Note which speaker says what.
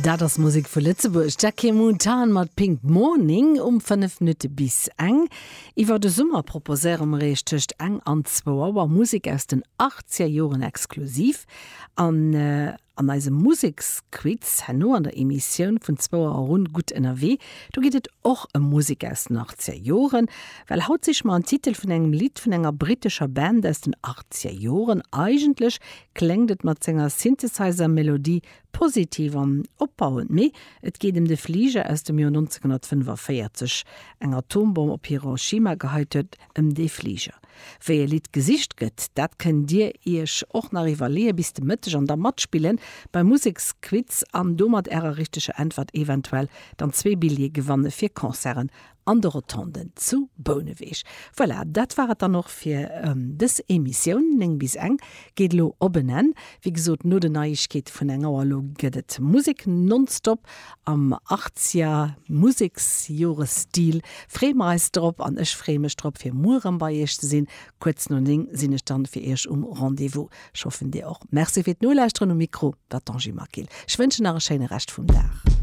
Speaker 1: Dat ass Musek vu Lëtzebuerg, Jackie Montane mat Pink Morning um 5 Minutte bis eng. Iwwer de Summer proposéiere mer iech tëscht eng an zwou Auer Musek aus den achtzeger Joren exklusiv. An an eisem Museksquiz herno an der Emissioun vun zwou Auer erun Gutt ënnerwee, do geet et och ëm Musek aus den achtzeger Joren. Well haut siche mer en Titel vun engem Lidd vun enger brittescher Band aus den achtzeger Joren. Eigentlech kléngt et mat senger Synthesizer-Melodie Positiv an opbauend, mee et geet em de Fliger aus dem Joer 1945, eng Atombomm op Hiroshima geheit huet, ëm dee Fliger. Wéi e Lidd gesicht gëtt, dat kënnt dir iech och nach iwwerleeë bis de Mëtteg an da matspillen beim Museksquiz an domat ärer richteger Äntwert eventuell dann zwee Billjeeë gewanne fir Concerten an de Rotonden zu Bouneweg. Voilà, dat war et dann och fir dës Emissioun. 9 bis eng geet elo op en Enn. Wéi gesot, no den Neiegkeete vun eng Auer elo gëtt et Musek nonstop am Artsia Museksjoresstil. Freeë mer eis drop an ech freeë mech drop fir muer erëm bei iech ze sinn. Kuerz no 9 sinn ech dann fir iech um Rendez-vous. Ech hoffen dir och. Merci fir d'Nolauschteren. Um Mikro war d'Angie Maquil. Ech wënschen nach e schéine Rescht vum Dag.